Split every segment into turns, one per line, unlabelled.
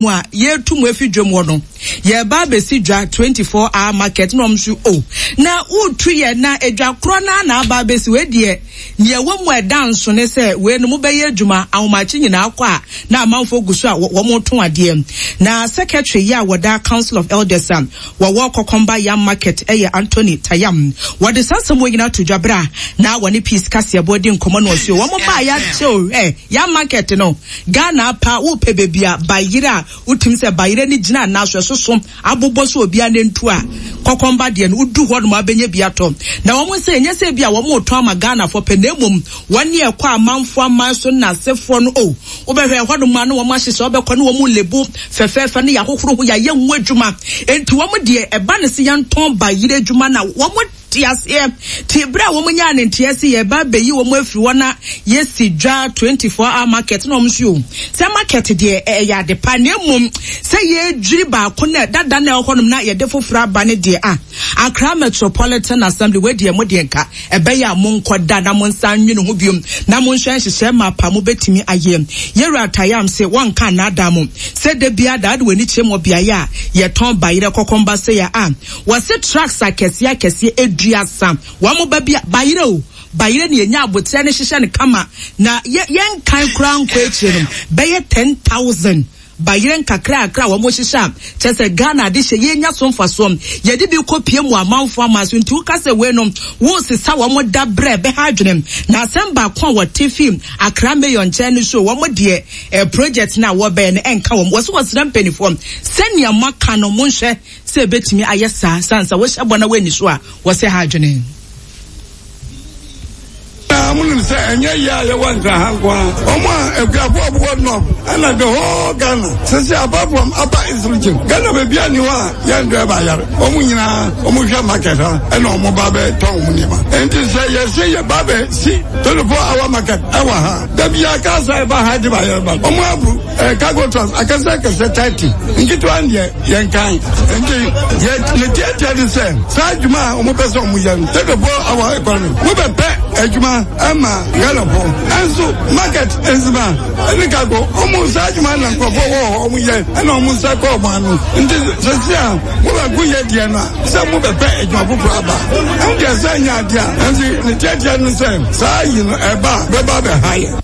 Mu a yɛretu mo afi dwam hɔ no, yɛreba abɛsi dwa 24 hour market na wɔn nso o na woretu yɛn na edwa korɔ no ara na aba abɛsi wei deɛ nea ɛwɔ mu a ɛda nso ne sɛ wei no mobɛyɛ adwuma ahomakye nyinaa kɔ a na amanfoɔ gu so a wɔretɔn adeɛ. Na secretary yi a wɔda Council of Elders a wɔwɔ Kɔkɔmba Yam Market yɛ Anthony Tayam. Wɔde saa nsɛm wei nyinaa to dwa berɛ a na wɔne Peace Kaseɛbɔ redi nkɔmmɔ na ɔse wɔn baa yɛakyɛ o hwɛ Yam Market no Ghana apa wopɛ baabi a bayerɛ a wotumi sɛ bayerɛ no gyina anaa so ɛsoso abobɔ so obiara nantu a kɔkɔmba deɛ no wodu hɔ nom abɛnya bi atɔ. Na wɔn sɛ ɛnyɛ sɛ bi a wɔn retɔn ama Ghanafoɔ pɛ na mmom wɔn ne ɛkɔ amanfoɔ aman so nnasefoɔ no oh wobɛhwɛ ɛhɔ nom a na wɔn ahyehyɛ wobɛkɔ ne wɔn lebo fɛfɛɛfɛ ne yɛahohoro ho yɛayɛ ho adwuma enti wɔn deɛ ɛba ne sɛ yɛntɔn bayerɛ adwuma na wɔn Te aseɛ. Te berɛ a wɔn nyaa ne nteɛ se yɛreba abɛyi wɔn afiri hɔ na yɛsi dwa 24 hour market na wɔn nso o sɛ market deɛ ɛyɛ ade pa na mmom sɛ yɛredwiri baako na dada na ɛwɔ hɔnom na yɛde foforɔ aba ne deɛ a Accra Metropolitan Assembly wei deɛ mo deɛ nka ɛbɛyɛ a monkɔ da na monsan nwene ho biom na monhwɛ nhyehyɛɛ mapa mobɛtumi ayɛ. Yɛwura Tayam se wɔnka nnaadaa mo sɛ da biara da wode w'ani kyerɛ mu wɔ beaeɛ a yɛtɔn bayerɛ kɔkɔmba sei a a Wɔse trucks akɛseɛ akɛseɛ aduasa wɔn ba bi a bayerɛ o bayerɛ ne yɛnya aboterɛ no hyehyɛ no kama na yɛ yɛnkan koraa nkɔ akyire no bɛyɛ 10,000 bayerɛ nkakrakra a wɔn hyehyɛ a kyerɛ sɛ Ghana ade hyɛ yɛnya so mfasoɔ yɛde bi kɔ pie mu amanfoɔ aman so nti woka sɛ wei no wosesa wɔn da berɛ bɛha adwene na asɛm baako a wɔte fi Accra Mayor nkyɛn no so wɔn deɛ eh, project no a wɔbɛyɛ no ɛnka wɔn wɔse wɔsrɛ mpanimfoɔ sɛnea moaka no monhwɛ Sɛ ebetumi ayɛ saa, esiane sɛ wohyɛ bɔ na woanni so a, wɔsɛe ha adwene.
Na monim sɛ ɛnyɛ yɛ a yɛwɔ Nkran ha nko ara, wɔn a akuafo a wɔwɔ North ɛna the whole Ghana. Sese apart from Upper East Region, Ghana baabi a ni hɔ a yɛn driver yare. Wɔn nyinaa wɔn hwɛ market ha ɛna wɔn ba bɛ tɔn wɔn nneɛma. Nti sɛ yɛse yɛ ba bɛ si 24 hour market ɛwɔ ha, dabi yɛ aka sa ɛba ha de ba yɛrɛ ba. Wɔn abu. Eh, cargo trucks akɛse akɛse 30 nketewa deɛ yɛnkan nti yɛ ne tiatia de sɛ saa adwuma a wɔpɛ sɛ wɔyɛ no tɛtɛfoɔ awɔ economy wobɛpɛ adwuma ɛma ghanafoɔ ɛnso market nsima ɛne cargo wɔn saa adwuma na nkurɔfoɔ wɔ hɔ wɔn yɛ ɛna wɔn nsa kɔ wɔn ano nti sɛsi a mobɛko yɛ deɛ no a sɛ mobɛpɛ adwuma foforɔ aba ɛno deɛ sɛ nyɛ adeɛ a ɛnti ne tiatia no sɛ saa yi no ɛba bɛba bɛha yɛ.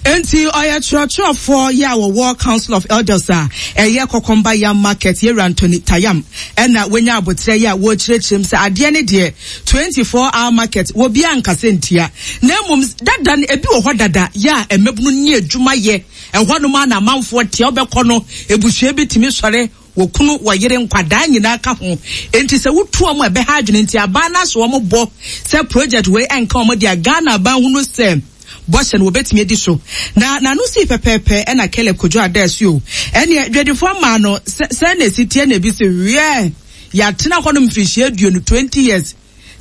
Enti ɔyɛ kyerɛkyerɛfoɔ yɛ a wɔwɔ Council of Elders a ɛyɛ Kɔkɔmba Yam Market Yɛwura Anthony Tayam ɛna wanya aboterɛ yɛ a wɔrekyerɛkyerɛ mu sɛ adeɛ ne deɛ 24 hour market wɔ biara nkasa ntia na mmom dada no ebi wɔ hɔ dada yɛ a mmabunu ne adwuma yɛ ɛhɔ nom a na amanfoɔ teɛ wobɛkɔ no ebusua bi tumi sɔre Wɔ kunu, wɔ yere, nkwadaa nyinaa ka ho. Enti sɛ wotu wɔn a ɛbɛha adwene nti aban no ahyɛ wɔn bɔ sɛ project wei ɛnka wɔn dea. Ghana aban hunu sɛ bɔhyɛ no wɔbɛtumi adi so. Na n'ano sii pɛpɛɛpɛ ɛna Caleb Kojo Adaasuo ɛneɛ dwadifoɔ maa no sɛ sɛn na ɛsi teɛ na ebi se wiɛɛ yɛatena hɔnom mfirihyia aduonu, 20 years,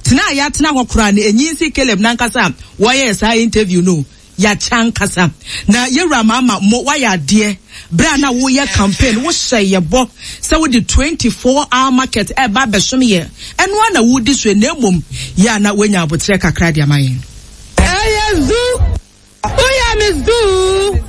Tena a yɛatena hɔ koraa no, enyi nsi Caleb n'ankasa a wɔyɛɛ saa interview no o. Yɛakyɛ ankasa. Na yɛwura Mahama mo wayɛ adeɛ. Berɛ a na woyɛ campaign wo hyɛɛ yɛ bɔ sɛ wode 24 hour market ɛreba abɛsom yɛn. Ɛno ara na woredi so yi na mmom yɛ a na woanya aboterɛ kakra de ama yɛn.
Ɛyɛ zu. Woyɛ me zoo.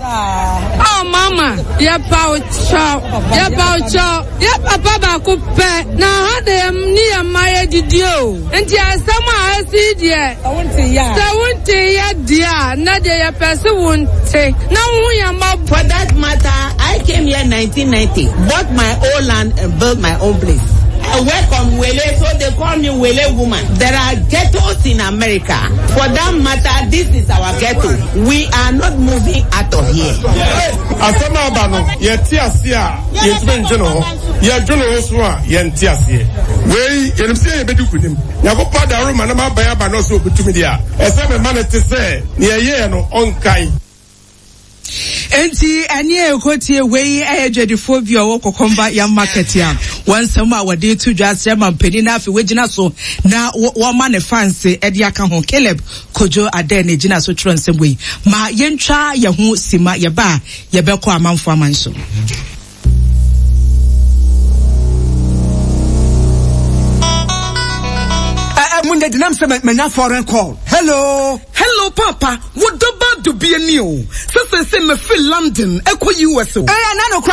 Oh mama, yɛpa wo kyɛw, yɛpa wo kyɛw. Yɛ papa baako pɛ na ha na yɛ ne yɛ mma yɛ didi o. Nti asɛm a asi yi deɛ, sɛ wonte yɛ deɛ a, na deɛ yɛpɛ se wonte na wohu yɛn mmɔbɔ.
For that matter, I came here 1990, bought my own land and built my own place. I work on Wele, so they call me Wele woman. There are ghettos in America. For that matter, this is our ghetto. We are not moving out of here.
Asɛm a aba no, yɛte ase a, yɛntumi ndwene ho. Yɛdwene ho so a, yɛnte aseɛ. Wei, yɛnim sɛ yɛbɛdi nkonim. Nyankopɔn adaworo ma na m'aban aba na ɔsɛ ɔbɛtumi deɛ a, ɛsɛ mema no te sɛ nea ɛyɛɛ no ɔnkae.
Enti ɛne a ɛkɔtie wei ɛyɛ dwadifoɔ bi a ɔwɔ Kɔkɔmba Yam Market a wɔn nsɛm a wɔde to dwa asrɛ ma mpanin na afei wɔagyina so na wɔma ne fanse de aka ho. Caleb Kojo Adɛ na ɛgyina so twerɛ nsɛm wei. Ma yɛntwa yɛn ho sima yɛba a yɛbɛkɔ amanfoɔ aman so.
Mu ndɛ denam sɛ manya foreign call. Hello.
Hello papa, wo dɔ ba dubie ni o. Sɛ sɛsɛ mefiri London ɛkɔ US o.
Ɛyɛ na nokora.